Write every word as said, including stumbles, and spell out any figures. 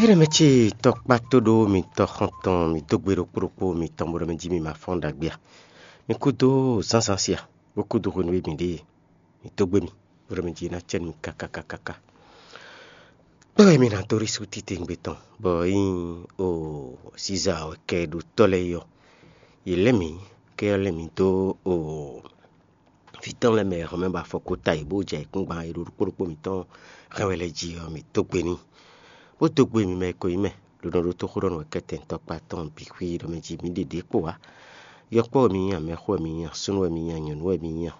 Éɖɛmɛ ce tɔkpá tóɖó mitɔn xɔntɔn mi dó gbe ɖokpó ɖokpó mitɔn bó ɖɔ mɛ jí mi ma fɔ́n ɖagbe a? Mi kúdó zǎnzǎn sia, bó kúdó hwenu e mi ɖe mi dó gbe mi, bó ɖɔ mɛ jí ná cɛ nú mi káká káká. Kpɛ́ wɛ mi ná dó ɖi sú titewungbe tɔn, bɔ é nyí o Siza wɛ kɛ ɖo tɔ́ lɛ́ɛ yɔ. Yě lɛ́ mǐ, kɛ ɔ́ lɛ́ mǐ dó o vǐ tɔn lɛ́ɛ mɛ e hɔn mɛ ba afɔkota yě bó jɛ ayǐkúngban e ɖo ɖokpó ɖokpó mǐtɔn hɛn wɛ lɛ́ɛ jí ɔ́, mǐ dó gbe n'i, bó dó gbe mi mɛ e ko nyí mɛ, ɖo nɔ ɖótó xó ɖɔ nú wɛ kɛ́tɛn tɔkpá tɔn bǐ xwí ɖɔ mɛ jí mǐ ɖe ɖě kpo ǎ. Yɔkpɔ́ wɛ mi nyí a, mɛxó wɛ mi nyí a, súnnu wɛ mi nyí a, nyɔ̌nu wɛ mi nyí a,